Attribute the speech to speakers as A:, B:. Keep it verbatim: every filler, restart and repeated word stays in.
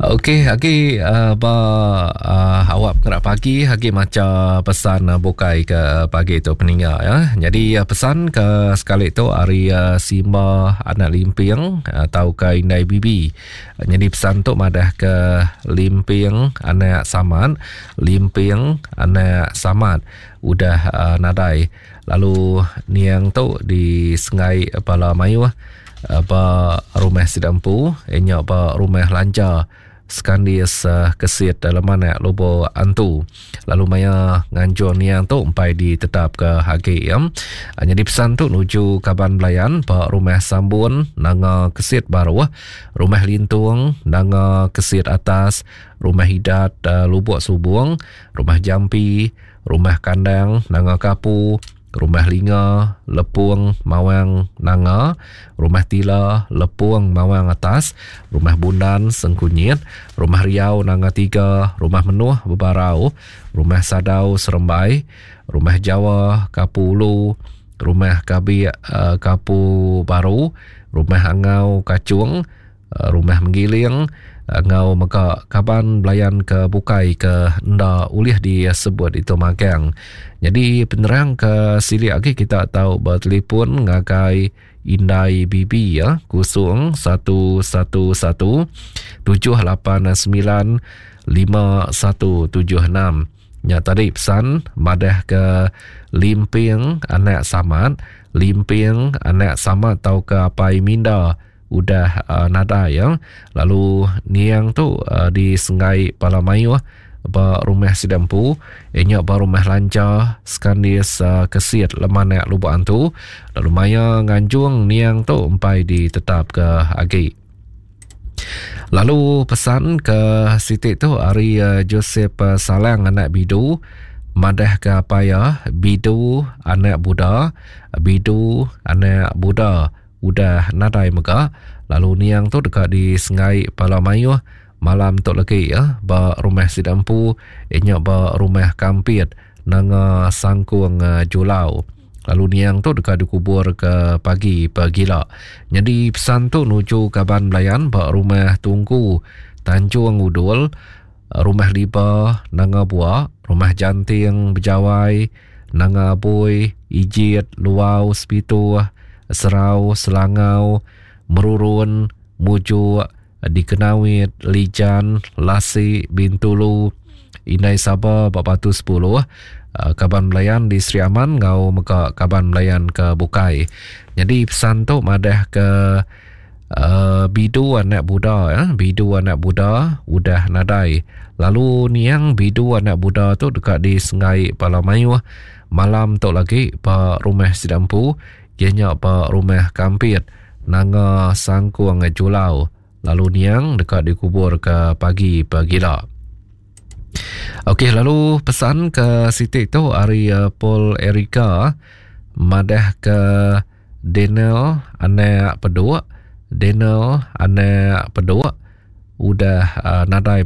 A: Okey, agi uh, ba uh, awak pengerak pagi agi maca pesan uh, bukai ke pagi tu peninga ya. Jadi uh, pesan ke sekali tu ari uh, Simba anak Limping atau ke Indai Bibi. Jadi pesan tu madah ke Limping anak Samad, Limping anak Samad udah uh, nadai. Lalu niang tu di Sengai Pala Mayuh uh, ba rumah Sidampu, nya ba rumah Lanja Skandis uh, kesit dalam anak Lubok Antu. Lalu maya nganjung niang tu empai ditetap ke hagi ya. Jadi pesan tu nuju kaban belayan ba rumah Sambun Nanga Kesit Baruh, rumah Lintung Nanga Kesit Atas, rumah Hidat uh, Lubok Subung, rumah Jampi, rumah Kandang Nanga Kapu, rumah Linga Lepung Mawang Nanga, rumah Tila Lepung Mawang Atas, rumah Bundan Sengkunyit, rumah Riau Nanga Tiga, rumah Menuh Bebarau, rumah Sadau Serembai, rumah Jawa Kapu Ulu, rumah Kabik uh, Kapu Baru, rumah Angau Kacung, uh, rumah Menggiling, ngau mega kaban belayan ke bukai ke enda ulih disebut itu magang. Jadi penerang ke silik lagi kita tahu bertelefon ngagai Indai Bibi ya kosong satu satu satu tujuh lapan sembilan lima satu tujuh enam. Ya tadi pesan madah ke Limping anak Samad, Limping anak Samad tau ke apai Minda udah uh, nada ya. Lalu niang tu uh, di Sengai Palamayuh ba rumah Sidampu, inya ba rumah Lanja Skandis uh, Kesit Lemanak Lubok Antu. Lalu maya nganjung niang tu empai ditetap ke agi. Lalu pesan ke sitik tu ari uh, Joseph uh, Salang anak Bidu madah ke apaya Bidu anak Buddha, Bidu anak Buddha udah nadai mega. Lalu niang tu dekat di Sengai Palamayuh malam tu lagi ya ba rumah Sidampu, inya ba rumah Kampit Nanga Sangkung uh, Julau. Lalu niang tu dekat dikubur ke pagi pagila. Jadi pesan tu nuju kaban belayan ba rumah Tungku Tanjung Udul, rumah Liba Nanga Bua, rumah Janting Bejawai Nanga Bui, Ijit Luau Sepituh, Serau Selangau, Merurun, Mujuk, Dikenawit, Lijan, Lasi, Bintulu, Indai Saba, Batu sepuluh, kaban belayan di Sri Aman ngau mega kaban belayan ke Bukai. Jadi pesan tu madah ke uh, Bidu anak Buddha ya, Bidu anak Buddha udah nadai. Lalu niang Bidu anak Buddha tu dekat di Sengai Palamayuh malam tu lagi ba rumah Sidampu, ianya ba rumah Kampit Nanga Sangkung Julau. Lalu niang dekat dikubur ke pagi pagila. Okey, lalu pesan ke sitik tu ari uh, Paul Erika madah ke Daniel anak peduk, Daniel anak peduk udah uh, nadai